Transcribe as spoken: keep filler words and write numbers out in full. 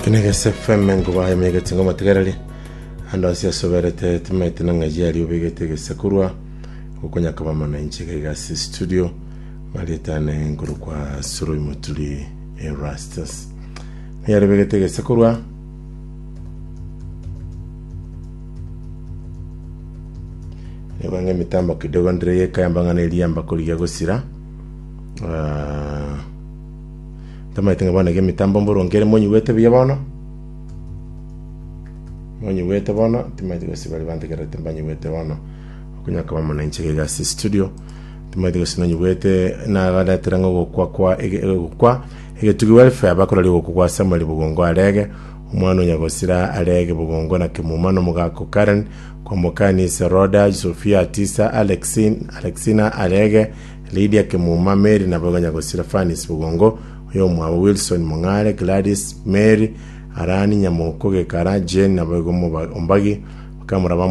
Kinegese F M enkuba emegete ngo matigarari ando ase asoberete timaete na ng'aji ari obegete egesakurwa gokonya kobamana inche iga ase studio marietane nkorokwa Soroi Moturi Erastus niyari obegete egesakurwa. Nigo ng'a emitambo kidogo ndire yekayamba ng'a neriamba korigia gosira. Ah, Ntomaete ng'a bono iga emitambo mboronge ere monyigwete buya bono? Monyigwete bono, timaeti gose baria bantegererete mbanyigwete bono. Okonya koba mono inche iga ase studio. Timaeti gose nonyigwete nabaretera ng'a ogokwa kwa ege- ogokwa egetugi welfare bakoraria ogokwa kwa Samuel Bogongo Arege, omwana o Nyagosira Arege Bogongo na Kemuma na omogaka o Karen, Kwamboka Anisa Rhoda, Sophia Atisa, Alexin, Alexina Arege, Lydia Kemuma, Mary naboigo Nyagosira Fanis Bogongo, oyomwabo Wilson Mong'are, Gladys, Mary, Arani Nyamoko Gekara, Jane naboigo Ombagi, bakamura bamwabo.